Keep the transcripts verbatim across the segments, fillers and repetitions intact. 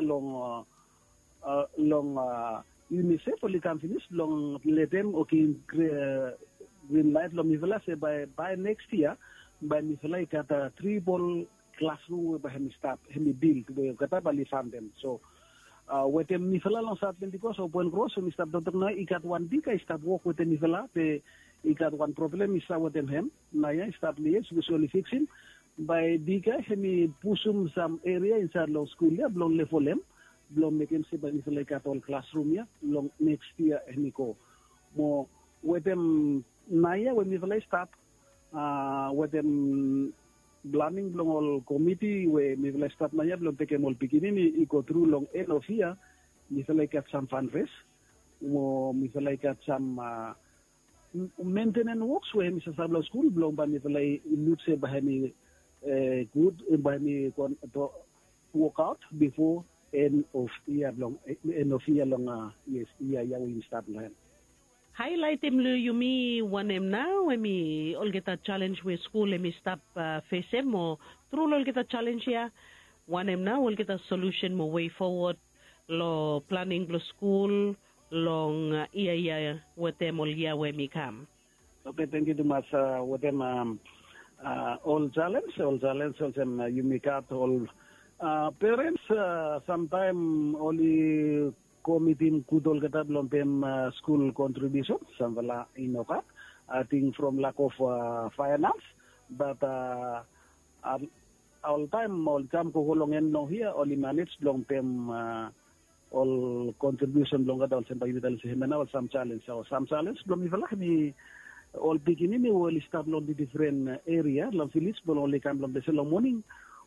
long long UNICEF oli kam finis blong letem o givim grin laet long mifala se bae neks yia bae mifala i gat tribol klasrum we bae hem i stap hem i bil we olgeta bae oli fantem. So wetem mifala long Saot Pentikos o Poen Kros we mi stap toktok nao i gat wan bika i stap wok wetem mifala be i gat wan problem i stap wetem hem. Nao ya i stap lies we oli fiksim bae bika hem i pusum sam eria insaed long skul ya blong levolem blong mekem se bae mifala i gat ol klasrum ya long neks yia hem i go. Mo wetem nao ya we mifala i stap wetem planing blong ol komiti we mifala i stap nao ya blong tekem ol pikinini i go tru long en of yia. Mifala i gat sam fanres mo mifala i gat sam mentenen woks we hem i sasap long skul blong bae mifala i luk se bae hem i gud bae hem i wokaot bifo en of yia blong en of yia long yes yia ya we yumi stap long hem. Haelaetem long yumi wanem nao hem i olgeta jalenj we skul hem i stap fesem mo tru long olgeta jalenj ya wanem nao olgeta solusen mo wei fowod long planing blong skul long yia ya wetem ol yia we hem i kam. Oke, tangkiu tumas wetem ol jalenj ol jalenj olsem yumi gat ol perens samtaem oli go mitim gud olgeta blong pem skul kontribiusen samfala i no gat ating from lak of faenans bat oltaem ol kam gogo long en long hia oli manej blong pem ol kontribiusen blong olgeta olsem bae yumi talem se hem ya nao ol sam jalenj o sam jalenj blong mifala hem i ol pikinini we oli stap long difren eria long vilis blong oli kam long ples ya long moning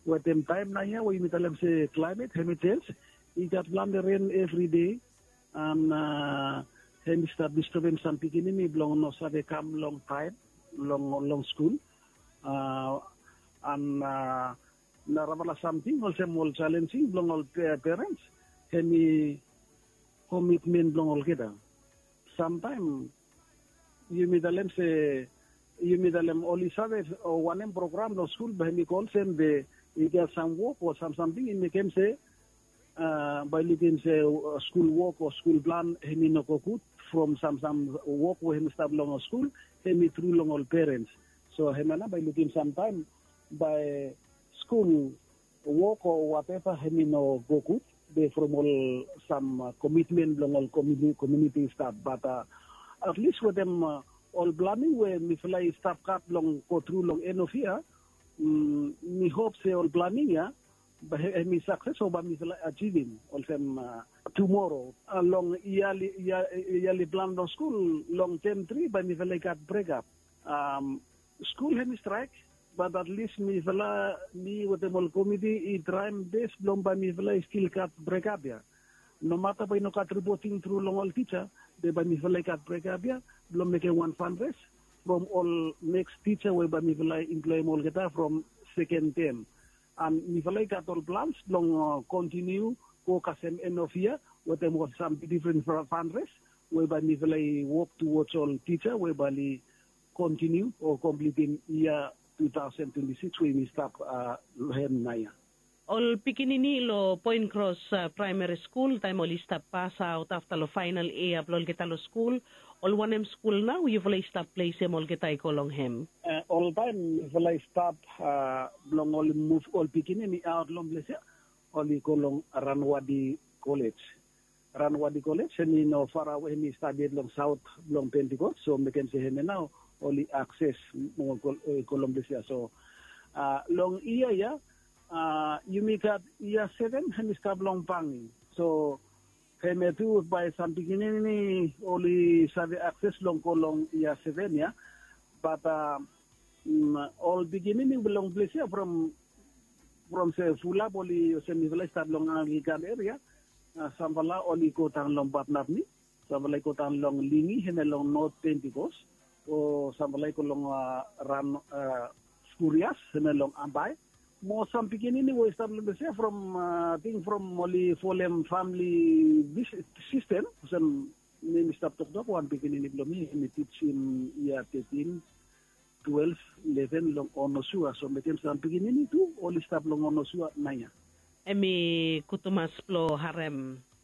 wetem taem nao ya we yumi talem se klaemet hem i jenj i gat plante ren evride an hem i stap distebem sam pikinini blong no save kam long taem long long skul an narafala samting olsem ol jalenjing blong ol perens hem i komitmen blong olgeta. Samtaem yumi talem se yumi talem oli save wanem program long skul bae hem i go olsem be i gat sam wok o sam samting i mekem se bae i lukim se skul wok o skul plan hem i no go gud from sam sam wok we hem i stap long skul hem i tru long ol perens. So hem ya nao bae i lukim samtaem bae skul wok o wateva hem i no go gud be from ol sam komitmen blong ol kominiti i stap bat atlis wetem ol planing we mifala i stap gat blong go tru long en of yia mi hop se ol planing ya bae hem i sakses o bae mifala i ajivim olsem tumoro long yali plan blong skul long tem tri bae mifala i gat brekap. Skul hem i straek bat atlis mifala mi wetem ol komiti i traem bes blong bae mifala i stil gat brekap ya. Nomata bae i no gat ripoting tru long ol tija be bae mifala i gat brekap ya blong mekem wan fanres from ol neks tija we bae mifala i imploem olgeta from seken tem an mifala i gat ol plans blong kontiniu go kasem en of yia wetem ol sam difren fanres we bae mifala i wok tuwods ol tija we bae oli kontiniu o komplitim yia tu taosen twenti sikis we yumi stap long hem nao ya. Ol pikinini long Poen Kros Praemari Skul taem oli stap pasaot afta long faenal yia blong olgeta long skul ol wanem skul nao yufala i stap plesem olgeta i go long hem? Oltaem yufala i stap blong oli muv ol pikinini aot long ples ya oli go long Ranwadi Kolej. Ranwadi Kolej hem i no farawe hem i stap yet long saot blong Pentikos so mekem se hem ya nao oli akses mo go long ples ya. So long yia ya yumi gat yia seven hem i stap long Bangi. So hem ya tu bae sam pikinini oli save akses blong go long yia seven ya. Bat ol pikinini blong ples ya from from se fulap oli olsem mifala i stap long Anglikan eria. Samfala oli go daon long Batnapni, samfala i go daon long Lingi hem ya long Not Pentikos, o samfala i go long ran Skurias hem ya long Ambae. Mo sam pikinini we i stap long ples ya from ating from oli folem famili sistem olsem mi mi stap toktok wan pikinini blong mi hem i tijim yia tetin, twelef, leven long Onosua so mekem sam pikinini tu oli stap long Onosua nao ya. Em i gud tumas blong harem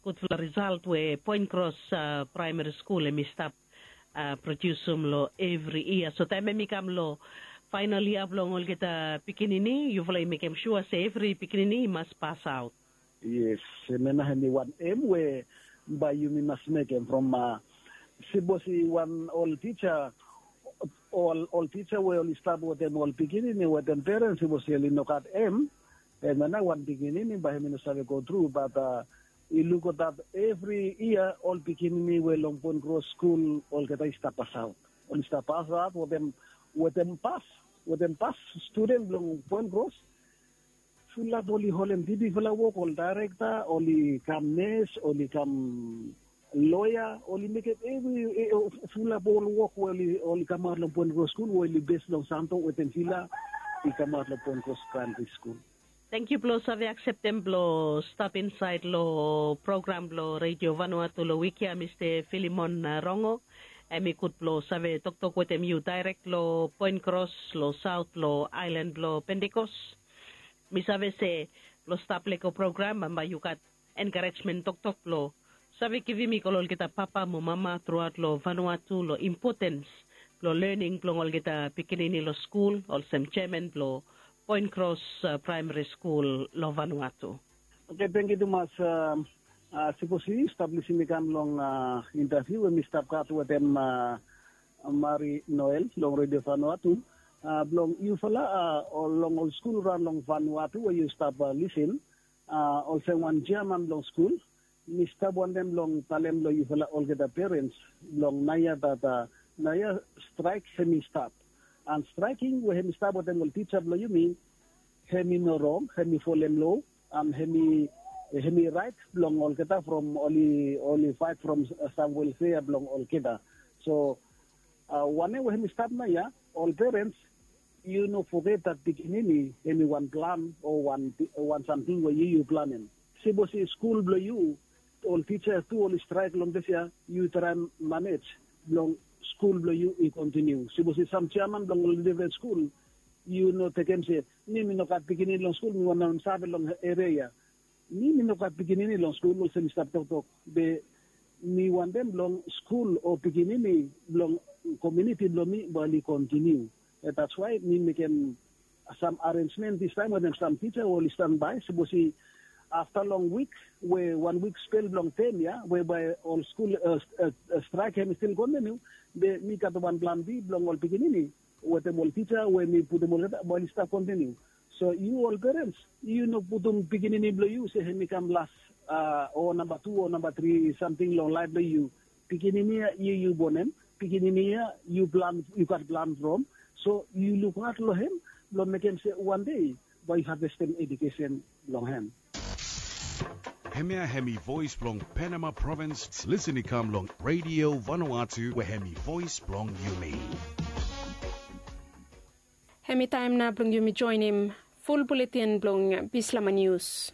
gudfala risalt we Poen Kros Praemari Skul em i stap prodiusim long evri yia. So taem em i kam long faenal yia blong olgeta pikinini, yufala i mekem sua se evri pikinini i mas pasaot. Yes, em ya nao em i wan em we bae yumi mas mekem from sipos i wan ol tija, ol tija we oli stap wetem ol pikinini wetem perens, sipos oli no gat em, em ya nao wan pikinini bae em i no save go tru. Bat i lukaot evri yia ol pikinini we long Poen Kros skul olgeta i stap pasaot. Oli stap pasaot wetem, wetem pas, wetem pas studen blong Poen Kros. Fulap oli holem dipifala wok, ol daerekta, oli kam nes, oli kam loea, oli mekem evri, fulap ol wok we oli kamaot long Poen Kros skul we oli bes long Santo wetem Vila i kamaot long Poen Kros Praemari Skul. Tangkiu blong save akseptem blong stap insaed long program blong Redio Vanuatu long wik ya, Mista Filimon Rongo. Em i gud blong save toktok wetem yu daerek long Poen Kros long saot long aelan blong Pentekos. Mi save se blong stap lego program bambae yu gat enkarejmen toktok blong save givim i go long olgeta papa mo mama truaot long Vanuatu long impotens blong lening blong olgeta pikinini long skul olsem jeaman blong Poen Kros Praemari Skul long Vanuatu. Oke, tangkiu tumas. Sipos yu stap lisin i kam long intaviu we mi stap gat wetem Mari Noel long Redio Vanuatu, blong yufala long ol skul raon long Vanuatu we yu stap lisin, olsem wan jeaman blong skul, mi stap wantem blong talem long yufala olgeta perens blong naoia, dat naoia straek hem i stap. An straeking we hem i stap wetem ol tija blong yumi, hem i no rong, hem i folem lo, an hem i raet blong olgeta from oli faet from sam welfea blong olgeta. So wanem we hem i stap naoia, ol perens, yu no foget dat pikinini hem i wan plan o wan samting we yu yu planem. Sipos i skul blong yu, ol tija tu oli straek long disfala, yu traem manej blong skul blong yu i kontiniu. Sipos i sam jeaman blong ol difren skul, yu no tekem se mi mi no gat pikinini long skul, mi wantem save long eria ya. Mi mi no gat pikinini long skul olsem mi stap toktok, be mi wantem blong skul o pikinini blong komuniti blong mi bae oli kontiniu. Dats wae mi mekem sam arenjmen distaem wetem sam tija we oli stanbae, sipos i afta long wik, we wan wik spel blong tem ya we bae ol skul straek hem i stil kontiniu, be mi gat wan plan bi blong ol pikinini wetem ol tija we mi putum olgeta bae oli stap kontiniu. So yu ol perens, yu no putum pikinini blong yu se hem i kam las o namba tu o namba tri samting long laef blong yu. Pikinini ya yu yu bonem, pikinini ya yu plan, yu gat plan from. So yu lukaot long hem blong mekem se wan dei bae yu havestem ejukesen blong hem. Hemia hem i voes blong Penama Provins, lisin i kam long Redio Vanuatu we hem i voes blong yumi. Hem i taem nao blong yumi joenem ful buletin blong Bislama Nius.